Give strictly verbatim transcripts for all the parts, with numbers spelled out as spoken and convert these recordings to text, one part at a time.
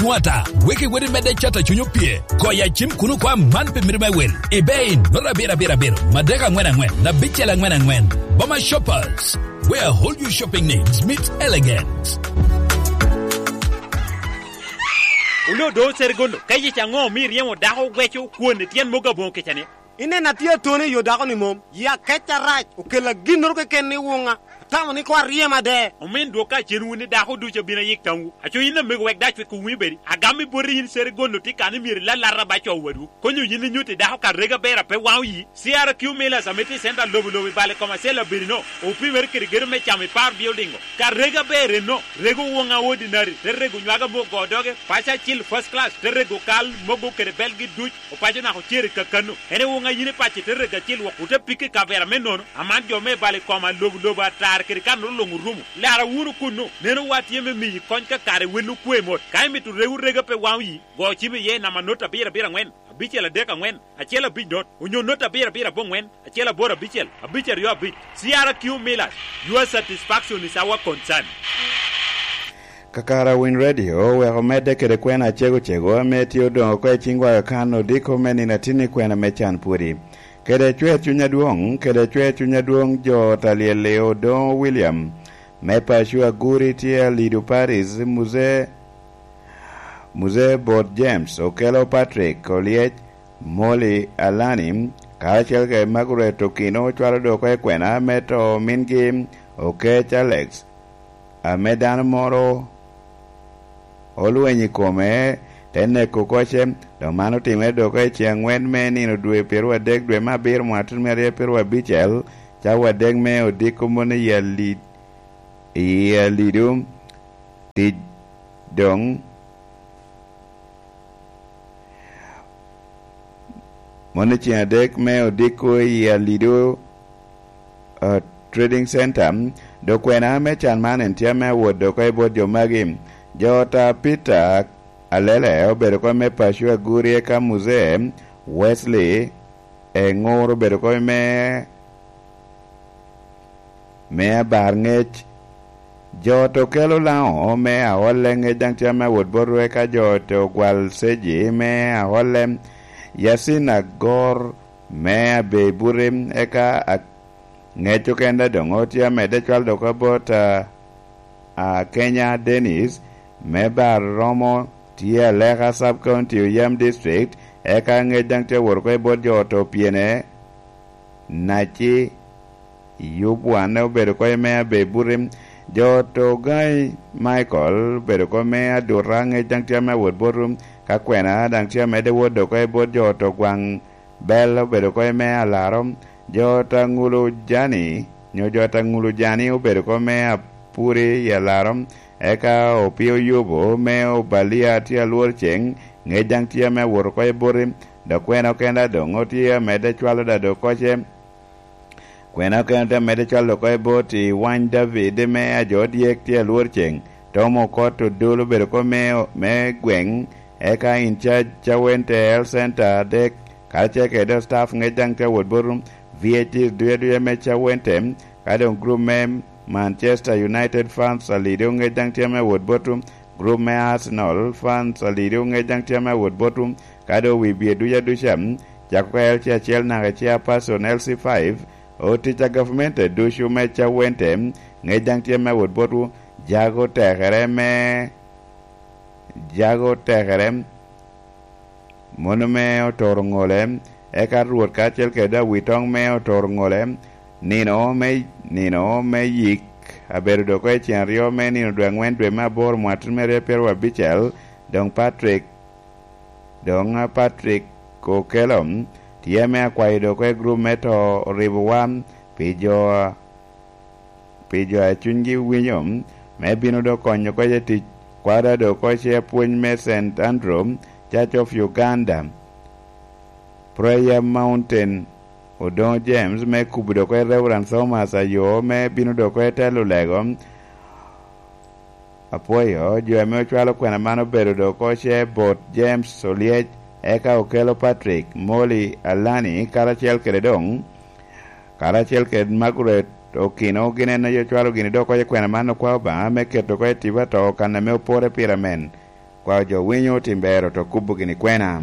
Nwata, wek iwot i medde cat a Cuny Opye. Goyo acim kuno kwa man pi mito me wil. Ibe i noto abiro abiro abiro, madek angwen angwen, abicel angwen angwen. Boma Shoppers, where all your shopping needs meet elegance. Oloo do Serigono, ka yic aŋo omio iryemo dako ogweco kwon i tyen mogo aboŋo kica-ni? Ineno atye atone i yo dako-ni mom. Yi akec arac okella ginnoro keken i wuŋa. Atamo ni koŋ aryem ade. Omin dwok kacen wun i dako ducu abino ayik tamwu. Aco yin amego wek dac wek owinyo bedi. Agam i boti yin Serigono tye kan i myero ilalata ba co wadwu. Konyo yin inyutti dako ka rega ber a pe waŋo yi. C R Q Millers ame tye i center lobo lobo i bal i kom acel abirino. Opimere kede gedo me camo i par building-o. Ka rega ber enno, rego woŋa ordinary, te rego nywaga me ogo doge, paco acil first class, te rego kal mogo kede belgi duc. Opaco naka ocere kakano. En ewoŋa yin i paco ite rego acil wok, ote pike i kavera me nono. Aman jo me balo i koma lobo lobo atar kede kanoro luŋ orumo. Lara wunu kunnu. Neno wa tye me miyi kony ka kare wel okwe mot. Ka imito rego rega pe waŋo yi, go cim iye i namba not abiro abiro aŋwen, abicel adek aŋwen, acel abic not, onyo not abiro abiro aboŋwen, acel aboro abicel, abic aryo abic. C R Q Millers, your satisfaction is our concern. Kakara Winy Radio oweko medde kede kwena acego cego ame tye odoŋo oko i ciŋ Wayo Kan odiko me nino atin i kwena me can pwodi. Kede cwer cuny adwoŋ, kede cwer cuny adwoŋ jo Talyel Odoŋo William, me paco Aguri tye Alido Paris, Muzee, Muzee Bot James, Okelo Patrick Olyec, Molly Alani, karacel kede Margaret Okino cwalo dok oko i kwena me to mingi Okec Alex, ame dano moro olweny i kome, te neko koce. Dok man otimere dok i ceŋ angwen me nino dwe pyeraryo adek dwe me abiro mwaka tutumia aryo pyeraryo abicel, cawa adek me odiko moni i Ali-, i Alido, tic doŋ Moni ceŋ adek me odiko i Alido, uh, Trading Center, dok kwena me can man en tye ame awot dok oko i bot jo magi. Jo ta Peter Alele obedo kop me paco Aguri eka Muzee Wesley Eŋur obedo kop me me abar ŋec. Jo to kelo Laŋo me aolle ŋec daŋ tye ame awot bot ru, eka jo to gwal Seji me aolle, Yasin Agor me Abei Buti, eka a-, ŋec okende doŋ otye amedde cwal dok bot, a, a, Kenya Dennis me bar romo tye Aleka Sub County, Oyam District, eka ŋec daŋ tye awot oko i bot jo to pyene. Naci Yub wan obedo kop me Abei Buti. Jo to Ogaŋi Michael obedo kop me Aduta, ŋec daŋ tye ame awot bot ru. Ka kwena daŋ tye amedde wot dok oko i bot jo to Gwaŋ Bel obedo kop me Alaro. Jo ta Ŋulu Jani, nyo jo ta Ŋulu Jani obedo kop me Apuri i Alaro. Eka Opio Yubo me Obalia tye alwor ceŋ, ŋec daŋ tye ame awot oko i boti. Dok kwena okenda doŋ otye amedde cwalo da dok koce. Kwena okene te medde cwalo oko i bot i Wany David me ajo dyek tye alwor ceŋ. Tom Okot Odol obedo kop me, me gweŋ, eka in charge Cawente Health Center adek, karacel kede staff ŋec daŋ tye awot bot V A Ts duya duya me Cawente, ka doŋ group me Manchester United fans alido ŋec daŋ tye me awot bot, group me Arsenal fans alido ŋec daŋ tye me awot bot, ka doŋ wi bye duca duca, cako ka L C acel naka i chairperson L C five, otic a gavumenti ducu me Cawente, ŋec daŋ tye me wot botwu, jago tekere me, jago tekere, mono me otoro ŋole, eka Rwot karacel kede awitoŋ me otoro ŋole, nino me, nino me yik, abedo dok i cen aryo me nino dwe angwen dwe me aboro mwaka tutumia aryo pyeraryo abicel, doŋ Patrick Doŋ a Patrick Okello tye ame akwayo dok oko i gurup me to oribowa pi jo, pi jo a cunygi winyo, me bino dok konyo oko i tic kwada dok oko i apwony me Saint Andrew Church of Uganda, Prayer Mountain, Odoŋo James, me kubo dok oko i Reverend Thomas Ayo, me bino dok oko i telo lego. Apwoyo jo ame ocwalo kwena man obedo dok oko ce bot James Olyec, eka Okello Patrick, Molly Alani, karacel kede doŋ, karacel kede Margaret Okino, gin en aye ocwalo gini dok oko i kwena man okwao Obaŋa me keto oko i tipo ato kan ame opore pire amen. Kwa jo winyo tim ber oto kubo gini kwena.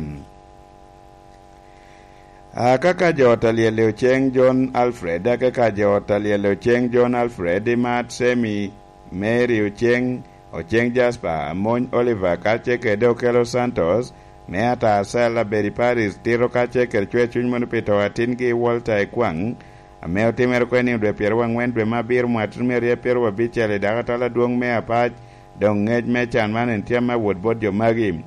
Akaka jo ot a lyel i oceŋ John Alfred, akaka jo ot a lyel i oceŋ John Alfred, i Mat Semi, Mary oceŋ, oceŋ Jasper, amony Oliver, ka ce kede Okelo Santos, me ata Sel abed i Paris, tito ka ce kede cwer cuny mono pi to atingi Walter Ekwaŋ, ame otimere kwene i dwe pyeraryo angwen dwe me abiro mwaka tutumia aryo pyeraryo abicel i dakatal adwoŋ me Apac, doŋ ŋec me can man en tye ame awot bot jo magi.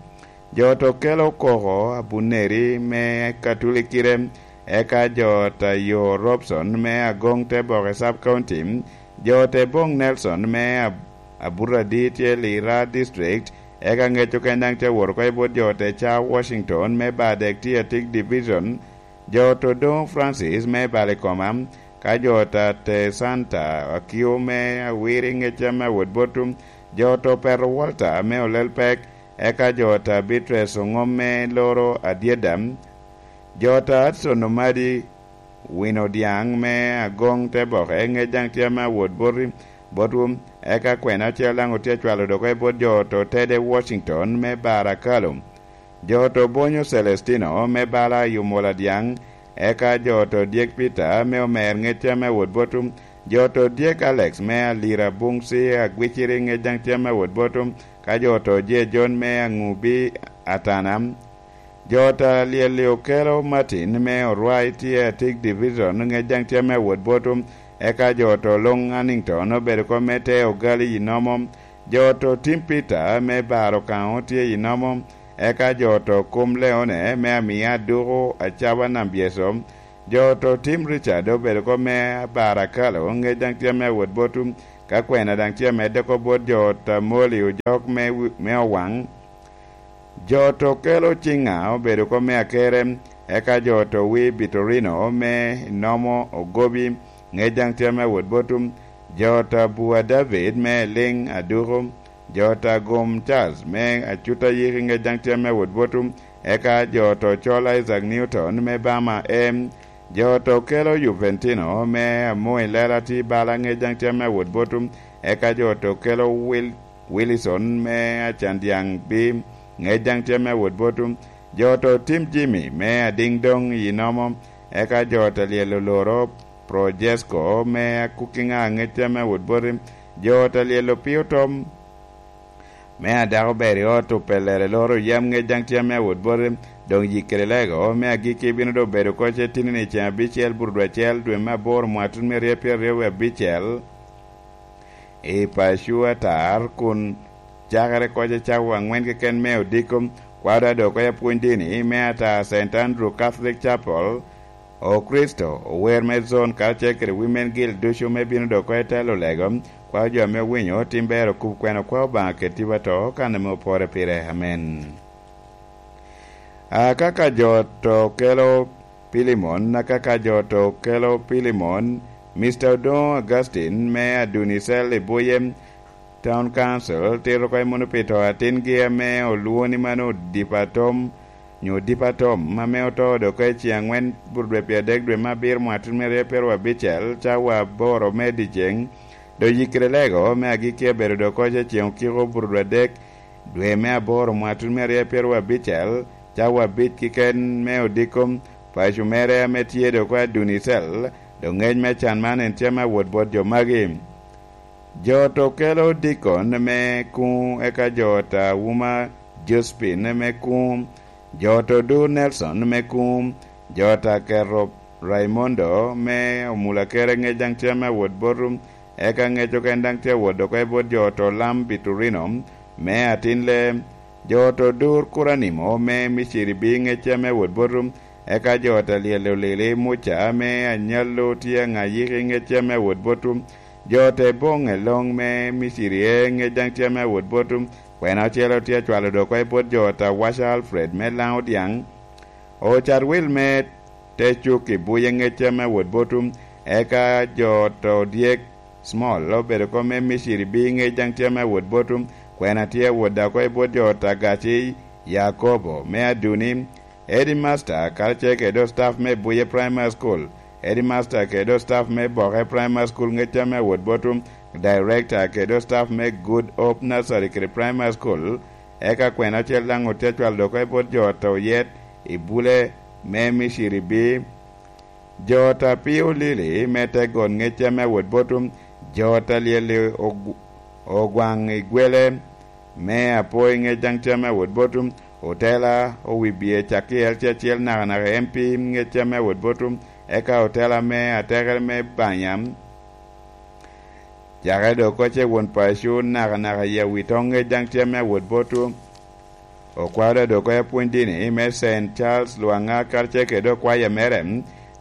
Jo ot Okelo Okoko Abuneri me Katulikire, eka jo ot a Yo Robson me Agoŋ Teboke Sub County, jo ot Eboŋ Nelson me Ab-, Aburadi tye Lira District, eka ŋec oken daŋ tye awot oko i bot jo ot Eca Washington me Badek tye Atik Division, jo ot Odoŋo Francis me Balikoma, ka jo ot a Te Santa Akio me Awiri ŋec ame awot bot, jo ot Opeto Walter me Olel Pek, eka jo ot a Beatrice Oŋom me Loro Adyeda, jo ot a Hudson Omadi Wino Dyaŋ me Agoŋ Teboke ŋec daŋ tye ame awot boti, botwu, eka kwena acel daŋ otye acwalo dok i bot jo ot Otede Washington me Barakalo. Jo ot Obonyo Celestino me bala Yumola Dyaŋ, eka jo ot Odyek Peter me Omer ŋec tye ame awot botwu, jo ot Odyek Alex me Alira Buŋ C Agwiciri ŋec daŋ tye ame awot botwu, ka jo ot Oje John me Aŋubi Atana. Jo ot a Lyel-li Okelo Martin me Orwai tye Atik Division ŋec daŋ tye ame awot botwu, eka jo ot Oloŋ Hannington obedo kop me te Ogali i Nomo, jo ot Otim Peter me Bar Okaŋo tye i Nomo, eka jo ot Okum Leone me Amia Aduku Acaba Nambyeco, jo ot Otim Richard obedo kop me Bar Akalo ŋec daŋ tye ame awot botwu, ka kwena daŋ tye amedde oko bot jo ot Amoli Ojok me wi-, me Owaŋ. Jo ot Okelo Ciŋa obedo kop me Akere, eka jo ot Owi Bitorino me Nomo Ogobi ŋec daŋ tye ame awot botwu, jo ot Abua David me Eliŋ Aduku, jo ot Agum Charles me Acuta Yiki ŋec daŋ tye ame awot botwu, eka jo ot Ocol Isaac Newton me Bama M, jo ot Okelo Juventino me Amoy Lela Ti Bala ŋec daŋ tye ame awot botwu, eka jo ot Okelo Wil-, Wilson me Acandyaŋ B ŋec daŋ tye ame awot botwu, jo ot Otim Jimmy me Adiŋ Doŋ i Nomo, eka jo ot Alyel Oloro Projesko me Akukiŋa ŋec tye ame awot boti, jo ot Alyel Opio Tom me Adako Ber i ot Opelere Loro Yam ŋec daŋ tye ame awot boti, doŋ yik kede lego me agikki bino doŋ bedo oko ce tinni i ceŋ abicel burudwa acel dwe me aboro mwaka tun me rye pyeraryo wie abicel. I paco atar kun cakere koc acawa aŋwen keken me odiko, kwaro adoko i apwony dini me ata Saint Andrew Catholic Chapel, Okricito, ower me Zone karacel kede Women Guild ducu me bino doko i telo lego, kwaro jo ame owinyo tim ber okub kwena kwa Obaŋa kede tipo ato kan ame opore pire. Amen. Akaka jo to kelo Pilimon, akaka jo to kelo Pilimon, Mister Odoŋo Augustine me Adunicel i Buye Town Council tito oko i Munupito atingi ame olwoŋo ni mano Odipo Atom, nyo Odipo Atom, ame oto dok oko i ceŋ aŋwen burudwe pyeradek dwe me abiro mwaka tun me rye pyeraryo abicel, cawa aboro me dyeceŋ. Doŋ yikkere lego me agikki abedo dok oko i ceŋ okiko burudwe adek dwe me aboro mwaka tun me rye pyeraryo abicel, cawa abic keken me odiko, paco mere ame tye dok oko Adunicel, doŋ ŋec me can man en tye ame awot bot jo magi. Jo to kelo dikon me kuŋ, eka jo ta Wuma Jospin me kuŋ, jo to Dur Nelson me kuŋ, jo ta Kerop Raimondo me Omulakere ŋec daŋ tye ame awot botu, eka ŋec oken daŋ tye awot dok i bot jo to Lam Biturino me Atinle, jo to Dur Kuranimo me Miciri bi ŋec tye ame awot botu, eka jo ta Lyel Olili Muca me Anyallo tye aŋa yiki ŋec tye ame awot botu, jo te boŋ eloŋ me Miciri e ŋec daŋ tye ame awot botu, kwena ocele tye acwalo dok i bot jo ta Waca Alfred me Laŋo Dyaŋ, ocat wil me te cuk i buye ŋec tye ame awot botu, eka jo to dyek Small obedo kom me Miciri bi ŋec daŋ tye ame awot botu, kwena tye awot dako i bot jo ta Gaci Yakobo me Aduni, Headmaster karacel kede staff me Buye Primary School, Headmaster kede staff me Boke Primary School ŋec tye ame awot botu, Director kede staff me Good Hope Nursery kede Primary School, Eka kwena ocel daŋ otye acwalo dok oko i bot jo ot a oyet i bule me Miciri bi. Jo ot a pio lili me te got ŋecca me awot botum, jo ot a lyel-li og-, ogwaŋ i gwele me apoi ŋec daŋ tye me awot botum, otela owibie cak i L C acel nakanaka M P ŋecca me awot botum, eka otela me atekere me Banyam. Cakere dok oko ce won paco nakanaka i awi toŋ ŋec daŋ tye me awot botu. Okwao dok oko apwony dini me Saint Charles Lwaŋa karacel kede okwaya mere,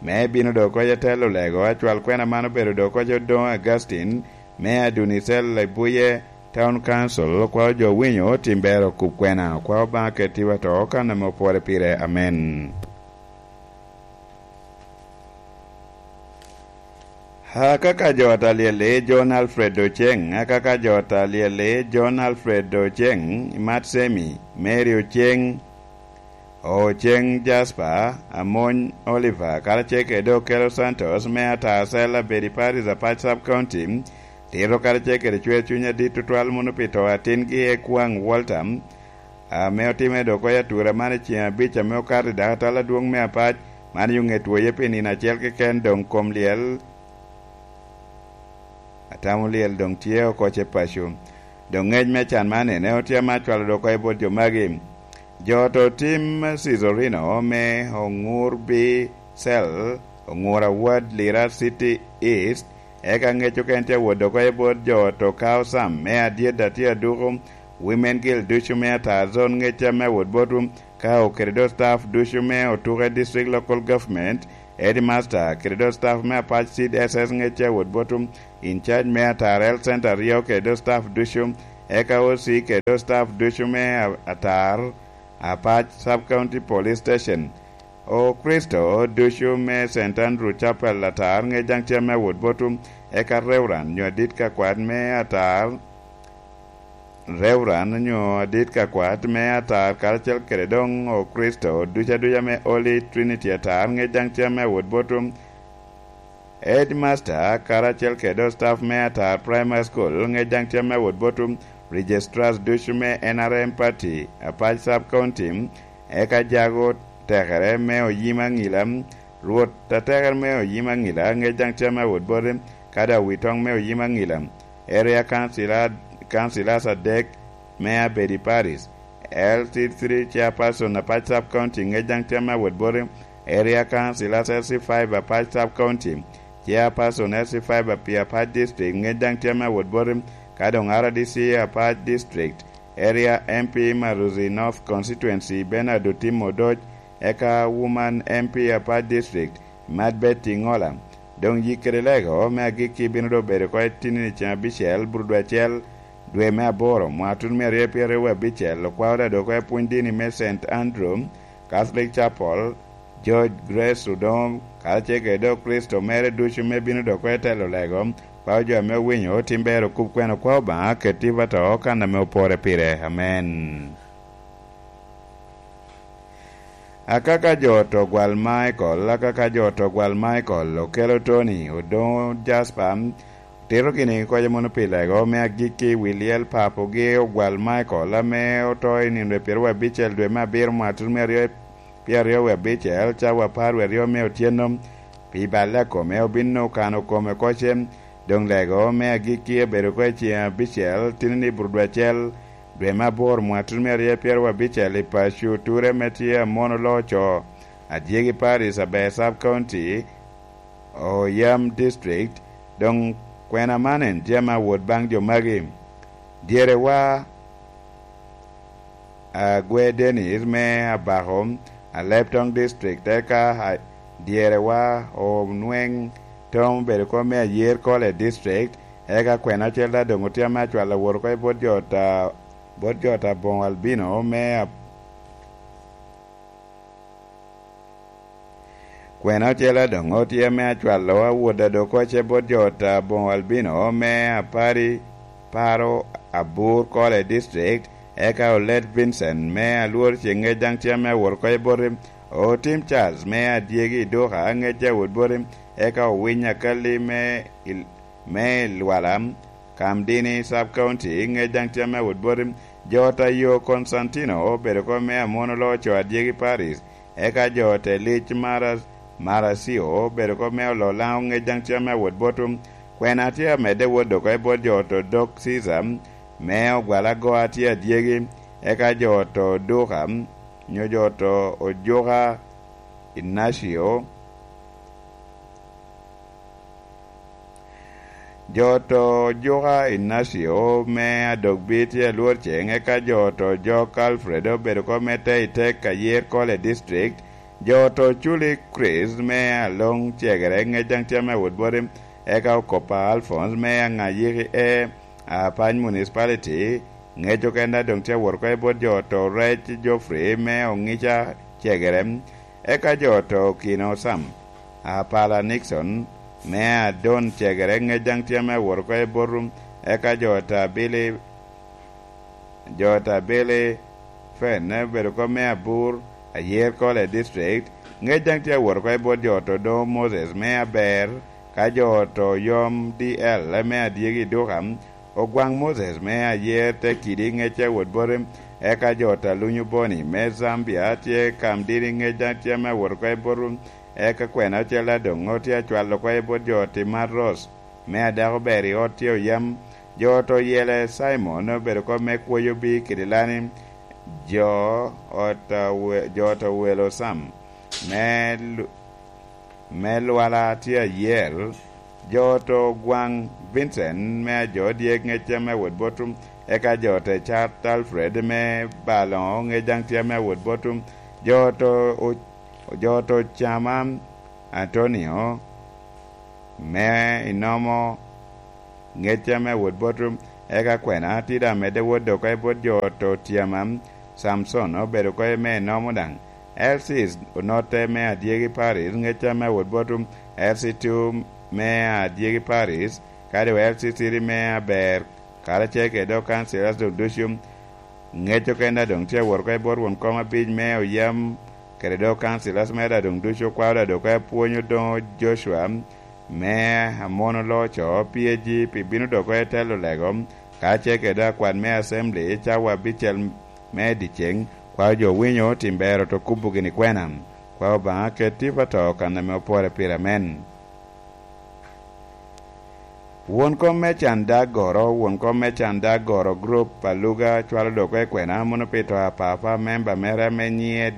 me bino dok oko atelo lego acwal kwena man obedo dok oko Odoŋ Augustine, me Adunicel Ebuye Town Council. Okwao jo winyo tim ber okub kwena, okwao Obaŋa ketiwa to kan ame opwore pire. Amen. Akaka jo ot a lyel-li John Alfred Oceng, akaka jo ot a lyel-li John Alfred Oceng, Matsemi, Mary Oceng, Oceng Jasper, Amony Oliver, karacel kede Okello Santos, me Atar Cell, Abedi Parish, Apac Sub County, tito karacel kede cwer cuny adit tutwal mono pi to atingi Ekwaŋ Walter, ame otimme dok oko i atura man i ceŋ abic ame okato i dakatal adwoŋ me Apac, man yo ŋet woye pi nino acel keken doŋ kom lyel, atamo lyel doŋ tye oko ce paco. Doŋ ŋec me can man ene otye ame acwalo dok oko i bot jo magi. Jo ot otim Cicurino me Oŋur B Cell, Oŋur Award, Lira City East, eka ŋec okene tye awot dok oko i bot jo ot Okao Sam me Adyet Atir Aduku, Women Guild ducu me Atar Zone ŋecca me awot botu, ka okede do staff ducu me Otuke District Local Government, Headmaster kede do staff me Apac Seed S S ŋecca awot botu, in charge me Atar Health Center aryo kede do staff ducu, eka O C kede do staff ducu me a-, Atar, Apac Sub County Police Station. Okricito ducu me Saint Andrew Chapel Atar ŋec daŋ tye ame awot botu, eka Reverend nyo adit ka kwat me Atar, Reverend nyo adit ka kwat me Atar karacel kede doŋ Okricito ducu aduca me Holy Trinity Atar ŋec daŋ tye ame awot botu. Headmaster karacel kede staff me Atar Primary School ŋec daŋ tye ame awot botu, registrars ducu me N R M party, Apac Sub County, eka jago tekere me Oyim Aŋila, Rwot atekere me Oyim Aŋila ŋec daŋ tye ame awot bote, kadi awitoŋ me Oyim Aŋila, area councilor, councilors adek me Abedi Parish, L C three chairperson Apac Sub County ŋec daŋ tye ame awot bote, area councilors L C five Apac Sub County, chairperson L C five pi Apac District ŋec daŋ tye ame awot bote, ka doŋ R D C Apac District, area M P Maruzi North Constituency Bernard Otim Odoc, eka woman M P Apac District, Mad Betty Ŋola. Doŋ yik kede lego me agikki bino doŋ bedo oko i tinni ceŋ abicel, burudwe acel, dwe me aboro, mwaka tutumia aryo pyeraryo wie abicel, okwao daŋ dok oko i pwony dini me Saint Andrew Catholic Chapel, George Grace Odongo, karacel kede doŋ Kricito mere ducu me bino dok oko i telo lego, okwao jo ame owinyo otim ber okub kwena okwao Obaŋa keti i pato kan ame opore pire. Amen. Akaka jo ot Ogwal Michael, akaka jo ot Ogwal Michael, Okello Tony, Odoŋo Jasper, tito gini kocca mono pi lego me agikki i wi lyel papogi Ogwal Michael, ame oto i nino dwe pyeraryo wie abicel dwe me abiro mwaka tutumia aryo pyeraryo wie abicel, cawa apar wie aryo me otyeno, pi balle a kome, obin okano kome kocce. Doŋ lego me agikki obedo oko i ceŋ abicel, tinni burudwe acel, dwe me aboro, mwaka tutumia aryo pyeraryo abicel, i paco Ture me tye Amono Loco, Adyegi Parish, Aber Sub County, Oyam District. Doŋ kwena man en tye ame awot baŋ jo magi. Dyerewa Agwe Dennis me Abako, Aleptong District, eka a-, dyerewa Onweng Tom obedo kom me Ayer Kole District, eka kwena ocel daŋ doŋ otye ame acwalo awot oko i bot jo ot a-, bot jo ot aboŋo albino me Ab-, Kwena ocel a doŋ otye ame acwalo awot a dok oce bot jo ot aboŋo albino me Apari Paro Abur Kole District, eka Olet Vincent me Alwor Ceŋŋec daŋ tye ame awot oko i bote, Otim Charles me Adyegi Iduka ŋec awot bote, eka Owiny Akalli me Il-, me Ilwala, Kamdini Sub County, ŋec daŋ tye ame awot bote, Jo ta yo Konstantino obedo kop me Amon oloo co adyegi Paris, eka jo te lic Mara-, Maracio obedo kop me olo Laŋo ŋec daŋ tye ame awot botwu. Kwena tye amedde wot doko i bot jo to dok Cica, me ogwal agoa tye adyegi, eka jo to duka, nyo jo to ojuka Inacio. Jo to juka Inacio me adok bi tye alwor ceŋ, eka jo to jok Alfred obedo kop me te i tek ayer kole district. Jo to culi Chris me aloŋ cegere ŋec daŋ tye ame wot boti, eka okopa Alphonse me aŋa yiki e Apany Municipality, ŋec okenda doŋ tye awot oko i bot jo to rec Geoffrey me oŋica cegere. Eka jo to kino Sam, Apala Nixon, me adon cegere ŋec daŋ tye ame awot oko i bot rum. Eka jo ta Billy, jo ta Billy Fen obedo kop me abur, ayer kole district, ŋec daŋ tye awot oko i bot jo to doŋo Moses me aber, ka jo to yom D L me adyegi duka, Ogwaŋ Moses me ayer te kidi ŋecce awot boti, eka jo ta lunyo boni me Zambia tye kam dini ŋec daŋ tye ame awot oko i botwu, eka kwena ocel adoŋo tye acwalo oko i bot jo ti Matros me adako ber i ot tye oyam. Jo to yele Simon obedo kop me kwoyo bi kidi lani, jo ot a we-, jo to welo Sam me lu-, me lwala tye ayel, jo to gwaŋ Vincent me ajo dyek ŋec tye ame awot botwu, eka jo te cat Alfred me baloŋo ŋec daŋ tye ame awot botwu, jo to o-, jo to cama Antonio me inomo ŋec tye ame awot botwu, eka kwena tye daŋ medde wot doko i bot jo to tyama, Samson obedo oko me inomo daŋ, L C onotte me adyegi Paris ŋec tye ame awot botwu, L C two me adyegi Paris, kadi wa L C three me aber, karacel kede dok councillors doŋ ducu. Ŋec okenda doŋ tye awot oko i bot won kom abic me oyam kede dok councillors me da doŋ ducu okwao da dok apwony odoŋo Joshua me Amon oloo co P A G pi bino dok oko i telo lego, kacel kede akwat me assembly cawa abicel me dyeceŋ, kwao jo winyo tim ber oto kubo gini kwena. Kwao Obaŋa ket tipo ato kan ame opore pire amen. Won kom me can dag goro, won kom me can dag goro group a Luga cwalo dok i kwena mono pi to a papa memba mere ame nyiŋe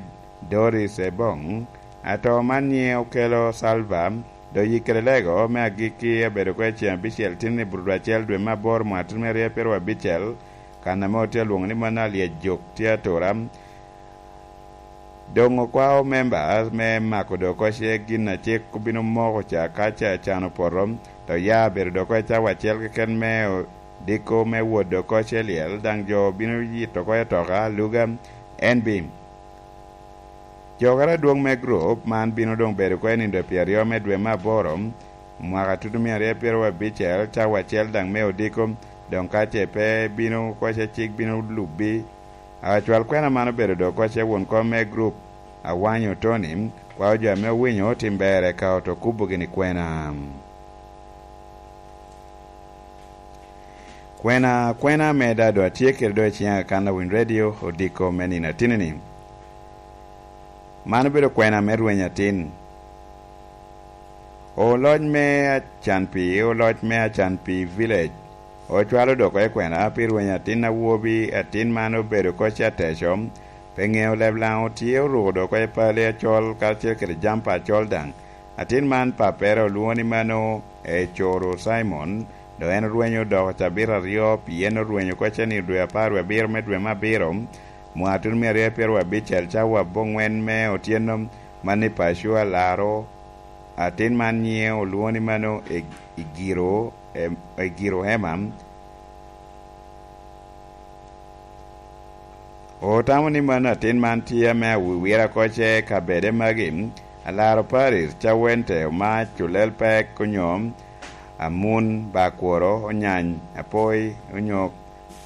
Doris Ebong. Ato man nyiŋe okelo Salva, do yikkere lego me agikki abedo ko i ceŋ abicel tini burudu acel dwe me aboro mwaka tini me aryo pyero abicel, kan ame otye alwoŋo ni mano alyec jok tye atura. Doŋ okwao members me mako dok kocce gin a cik obino moko ca ka ca can opoto, to ya bedo dok oko i cawa acel keken me odiko me wot dok kocce lyel, daŋ jo bino yito oko i toka aluga. N B. Jokere adwoŋ me gurup man bino doŋ bedo oko i nindo pyeraryo me dwe me aboro, mwaka tutumia aryo pyero abicel, cawa acel daŋ me odiko, doŋ ka ce pe bino kocce cik bino lubbi. Acwal kwena man obedo dok kocce won kom me gurup Awanyo Tony, kwao jo ame owinyo otim ber eka oto kubo gini kwena. Kwena, kwena me dado atye kede do i ciŋa kan awiny radio odiko me nino atini-ni. Man obedo kwena me rweny atin. Oloc me Acanpi, oloc me Acanpi Village, ocwalo dok i kwena pi rweny atin awobi, atin man obedo kocce ateco, pe ŋeo leb Laŋo tye oruko dok i pale acol karacel kede jampa acol daŋ. Atin man pappere olwoŋo ni mano Ecoro Simon, dok en orwenyo odoko cabit aryo, pien orwenyo kocce ni dwe apar wie abiro me dwe me abiro, mwaka tutumia aryo pyero abicel cawa aboŋwen me otyeno, man ni paco alaro. Atin man nyiŋe olwoŋo ni mano Eg-, Egiro, em, Egiro Emma. Otamo ni mano atin man tye ame awiwira kocce kabede magi, alaro Paris, cawente, omac, olel pek, onyo amun, bakworo, onyany, apoi, onyo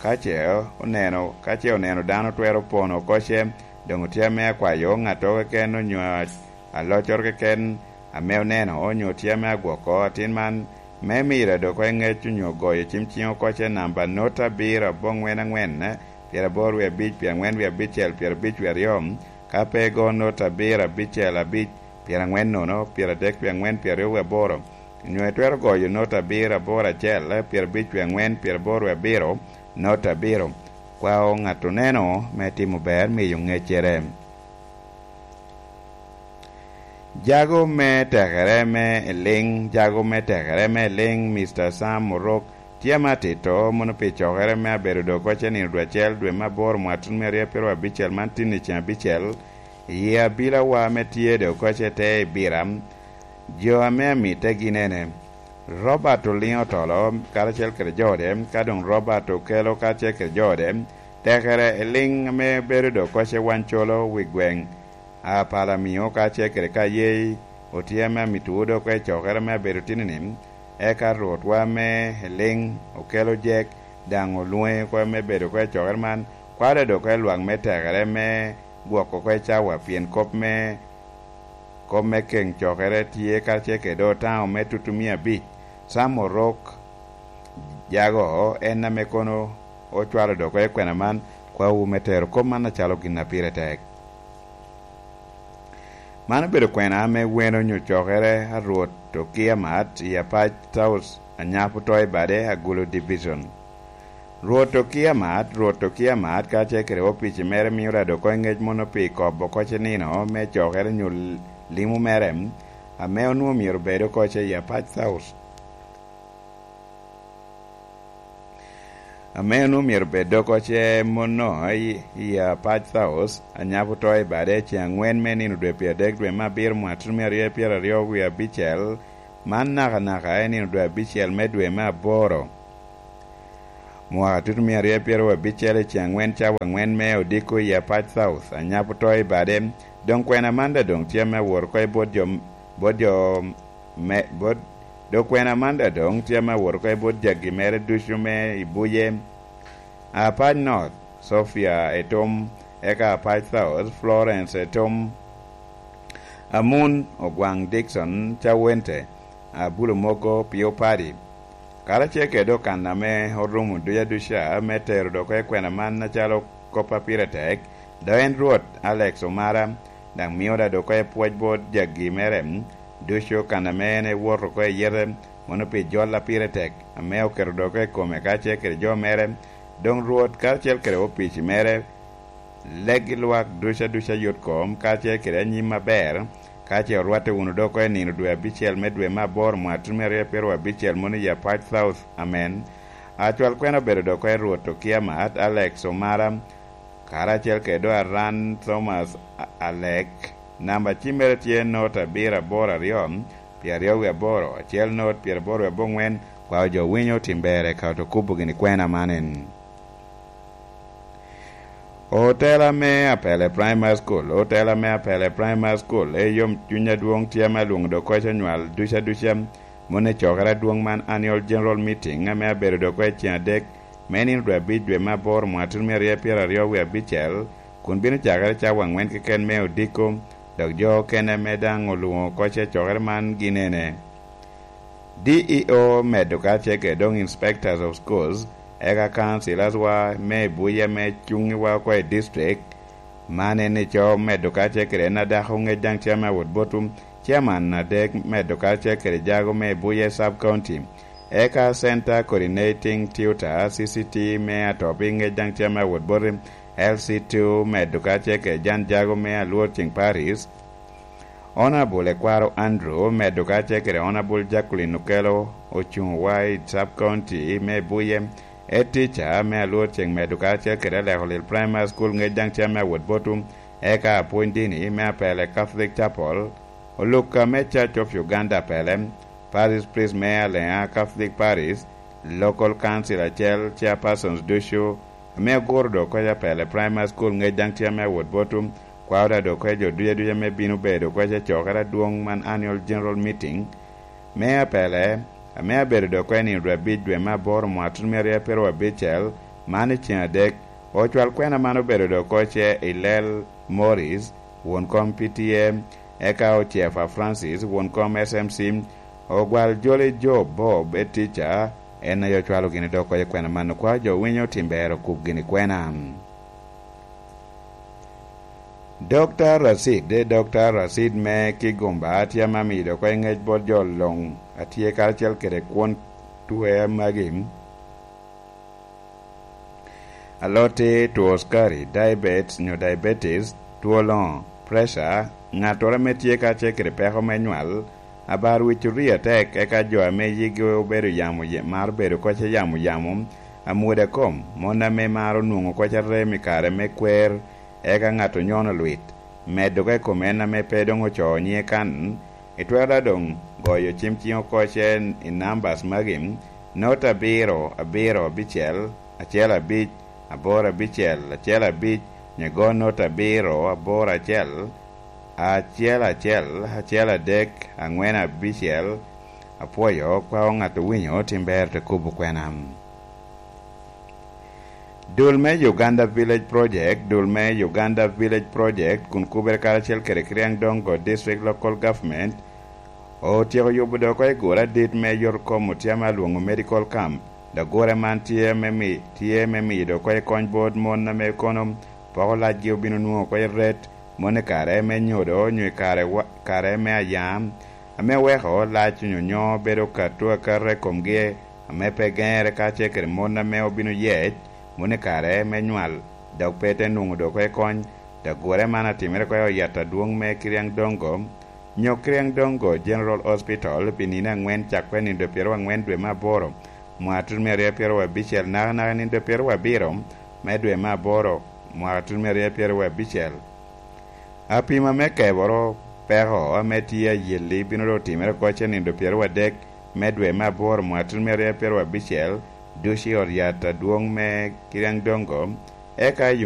ka ce oneno, ka ce oneno dano twero pono kocce, doŋ otye ame akwayo ŋatto keken onyo a-, aloccoro keken ame oneno, onyo tye ame agwoko atin man, me miro dok oko i ŋec onyo goyo cim ciŋ oko ce namba not abiro aboŋwen aŋwen, pyeraboro wie abic, pyerangwen wie abicel, pyerabic wie aryo, ka pe igo not abiro abicel abic, pyerangwen nono, pyeradek wie angwen, pyeraryo wie aboro, onyo itwero goyo not abiro aboro acel, pyerabic wie angwen, pyeraboro wie abiro, not abiro. Kwao ŋat oneno me timo ber miyo ŋeccere. Jago me tekere me eliŋ, jago me tekere me eliŋ, Mister Sam Orok, tye ame atito mono pi cokere me abedo dok koce nino dwe acel dwe me aboro mwatun me aryo pyeraryo abicel man tin i ceng abicel, i abilawa me tye dok koce te i bira. Jo ame amitte gin ene: Robert Oliŋo Otolo karacel kede jo ode, ka doŋ Robert Okelo karacel kede jo ode, tekere eliŋ ame bedo dok koce wancolo wi gweŋ Apalamio kacel kede Kayei otye ame amito dok oko i cokere me abedo tini-ni, eka Rwotwa me eliŋ okelo jek, daŋ olwoŋe oko me bedo oko i cokere man, kwalo dok oko i lwak me tekere me gwoko oko i cawa, pien kop me, kop me keŋ cokere tye kacel kede otaŋo me tutu mia abic. Sam Orok Jago en ame kono ocwalo dok oko i kwena man, kwawu me tero kop man acalo gin a pire tek. Man obedo kwena ame weno onyo cokere a Rwot Okiamat i Apac South, Anyapo to i bade, Agulu Division. Rwot Okiamat, Rwot Okiamat kacel kede opici mere mio rado oko i ŋec mono pi kobo koce nino me cokere onyo limo mere, ame onwoŋo myero bed oko ce i Apac South. Ame onwoŋo myero bed dok oce mono i, i Apac South, Anyapo to i bade ceŋ angwen me nino dwe pyeradek dwe me abiro mwaka tutumia aryo pyeraryo wie abicel, man nakanaka i nino dwe abicel me dwe me aboro. Mwaka tutumia aryo pyeraryo abicel i ceŋ angwen cawa angwen me odiko i Apac South, Anyapo to i bade, doŋ kwena man daŋ doŋ tye ame awot oko i bot jo, bot jo me, bot, doŋ kwena man daŋ doŋ tye ame awot oko i bot jaggi mere ducu me i buye. Apac North, Sophia Etom, eka Apac South, Florence Etom, Amun Ogwaŋ Dickson, Cawente, Abulo Mogo, Pio Padi, karacel kede okan ame orumo duca duca me tero dok oko i kwena man acalo kop a pire tek, dok en Rwot Alex Omara, daŋ mio da dok oko i pwoc bot jaggi mere ducu kan ame en ewot oko i yete, mono pi jol a pire tek ame oketo dok oko i kome kacel kede jo mere, doŋ Rwot karacel kede opici mere, leggi lwak duca duca yot kom kacel kede anyim aber, ka ce orwatte wunu dok oko i nino dwe abicel me dwe me aboro mwaka tutumia aryo pyeraryo abicel mono i Apac South. Amen. Acwal kwena obedo dok oko i Rwot Okiamat Alex Omara, karacel kede do Aran Thomas A-, Alek. Namba cimmere tye not abiro aboro aryo, pyeraryo wie aboro, acel not, pyeraboro wie abongwen. Kwao jo winyo otim ber eka oto kubo gini kwena man en. Otela me Apele Primary School, otela me Apele Primary School, e yom cuny adwoŋ tye ame alwoŋo dok koc onywal duca duca, mono i cokere adwoŋ man Annual General Meeting ame abedo dok oko i ceŋ adek me nino dwe abic dwe me aboro mwaka tutumia aryo pyeraryo wie abicel, kun bino cakere cawa angwen keken me odiko, dok jo okene ame daŋ olwoŋo koc i cokere man gin ene: D E O medo kacel kede doŋ Inspectors of Schools, eka councillors wa me i buye ame cuŋ i wa oko i district, man en ico medo kacel kede en adako ŋec daŋ chairman awot botu, chairman adek medo kacel kede jago me i buye sub county, eka center coordinating tutor, C C T, me atop i ŋec daŋ chairman awot botu, L C two medo kacel kede jan jago me alwor ceŋ Paris, Honorable Ekwaro Andrew medo kacel kede Honorable Jacqueline Okello ocuŋ wa i sub county me Buye, e teacher me alwor ceŋ medo kacel kede Aleko Lil Primary School ŋec daŋ cam me awot botu, eka apwony dini me Apele Catholic Chapel, olukka me Church of Uganda Apele, Parish Priest me Alea Catholic Parish, Local Council acel, Chairpersons ducu, ame aguro dok koc Apele Primary School ŋec daŋ tye ame awot botu, kwao da dok koc jo duca duca me bino bedo koc acokere adwoŋ man Annual General Meeting me Apele, ame abedo dok koc i nino dwe abic dwe me aboro mwaka tun me aryo apiro abicel, man i ceng adek. Ocwal kwena man obedo dok koc i Lel Morris, won kom P T A, eka Ocefa Francis, won kom S M C, Ogwal Joli Job Bob, e teacher, En aye ocwalo gini dok oko i kwena man, okwao jo winyo tim ber okub gini kwena. Dokta Racid, Dokta Racid me Kigumba tye ame amido oko i ngec bot jo luŋ a tye karacel kede kwon twer magi. Alote, two sukari, diabetes nyo diabetes, two loŋo, pressure, ŋattoro ame tye karacel kede peko me nywal, abar wic orii atek, eka jo ame yigi obedo yamo, maro bedo koc yamo yamo, amwoda kom, mon ame maro nwoŋo koc arem i kare me kwer, eka ŋat onyono lwit, medo ka i kom en ame pe doŋ ocoo nyiŋe kan, itwero da doŋ goyo cim ciŋ oko cen i nambas magi, not abiro abiro abicel, acel abic, aboro abicel, acel abic, nyo igo not abiro aboro acel, acel acel, acel adek, aŋwen abicel. Apwoyo, kwao ŋat owinyo tim ber te kubo kwena. Dul me Uganda Village Project, dul me Uganda Village Project kun kubere karacel kede Kiriang Dongo District Local Government otyeko yubo dok oko i gure adit me yot kom otyama alwoŋo medical camp. Dok gure man tye me mi-, tye me miyo dok oko i kony bot mon ame kono poko lacgi obino nwoŋo oko i ret, mon i kare me nyodo nyo i kare wa-, kare me ayam, ame weko lac onyonyo bedo kato akata i komgi, ame pe geŋere kacel kede mon ame obino yec, mon i kare me nywal, dok pe te nwoŋo dok oko i kony. Dok gure man atimere oko i yat adwoŋ me Kiriang Dongo, nyo Kiriang Dongo General Hospital pi nino aŋwen cakko i nino pyeraryo aŋwen dwe me aboro, mwaka tutumia aryo pyeraryo abicel, nakanaka i nino pyeraryo abiro me dwe me aboro, mwaka tutumia aryo pyeraryo abicel. Apima me keboro peko ame tye ayelli bino doŋ timere oko i nino pyeraryo adek me dwe me aboro, mwaka tutumia aryo pyeraryo abicel, ducu i ot yat adwoŋ me Kiriang Dongo, eka i